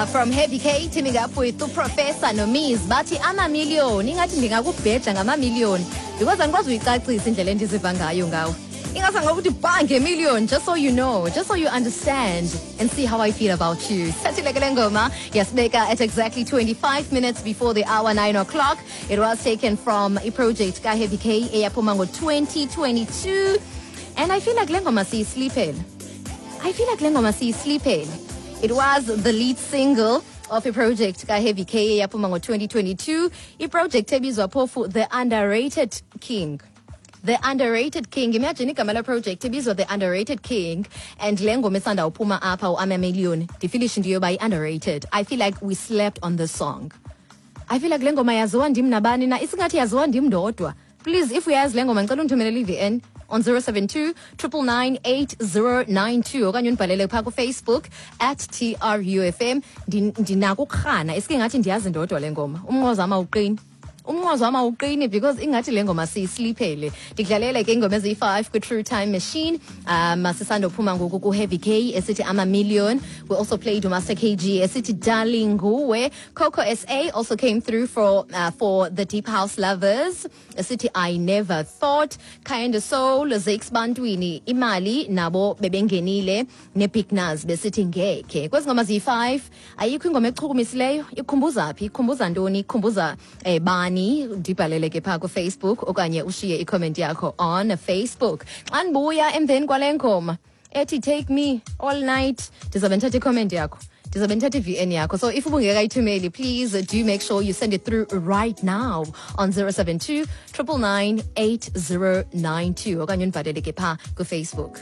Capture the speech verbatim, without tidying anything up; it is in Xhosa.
Uh, from Heavy K teaming up with uProfessor noMiz, bathi "Amamiliyoni." Ingathi ndingakubheja ngamamiliyoni because andikwazi uyicacisa indlela endiziva ngayo ngawe. Ingase ngokuthi ba ngemillion, just so you know, just so you understand and see how I feel about you. Sathile ke le ngoma yasibeka at exactly twenty-five minutes before the hour, nine o'clock. It was taken from iproject kaHeavy K eyaphuma ngo-twenty twenty-two, and I feel like le ngoma siyisleepele. I feel like le ngoma siyisleepele. It was the lead single of iproject kaHeavy K eyaphuma ngo-twenty twenty-two, iproject ebizwa phofu The Underrated King. The Underrated King. Imagine igama la project ibizwa The Underrated King, and le ngoma esanda uphuma apha, uAmamillion, ndifeelishe into yoba i-underrated. I feel like we slept on this song. I feel like le ngoma yaziwa ndim nabani na, isingathi yaziwa ndim ndodwa. Please, if uyazi le ngoma, ndicela undithumelele i-V N on zero seven two nine nine nine eight zero nine two okanye undibhalele phaa kuFacebook at T R U F M. Ndinako ukurhana isike ngathi ndiyazi ndodwa le ngoma. Umnqwazi wam awuqini, umnqwazi wam awuqini because ingathi le ngoma siyisleepele. Ndikudlalele ke ingoma eziyi-five kwi-True Time Machine. um sisandophuma ngoku ku-Heavy K esithi "Amamillion." We also played uMaster K G esithi "Darling Nguwe." Coco S A also came through for, uh, for the deep house lovers, esithi "I Never Thought." Kind of Soul, Zakes Bantwini, Imali, nabo bebengenile neBig Nuz besithi "Ngekhe." Kwezi ngoma ziyi-five, ayikho ingoma echukumisileyo? Ikhumbuza phi? Ikhumbuza ntoni? Ikhumbuza eh, bani? Ndibhalele ke phaa kuFacebook okanye ushiye icomment yakho on Facebook. Xa ndibuya emveni kwale ngoma ethi "Take Me All Night", ndizabe ndithatha icomment yakho, ndizabe ndithatha i-V N yakho. So if ubungekayithumeli, please do make sure you send it through right now on zero seven two nine nine nine eight zero nine two okanye undibhalele ke phaa kuFacebook.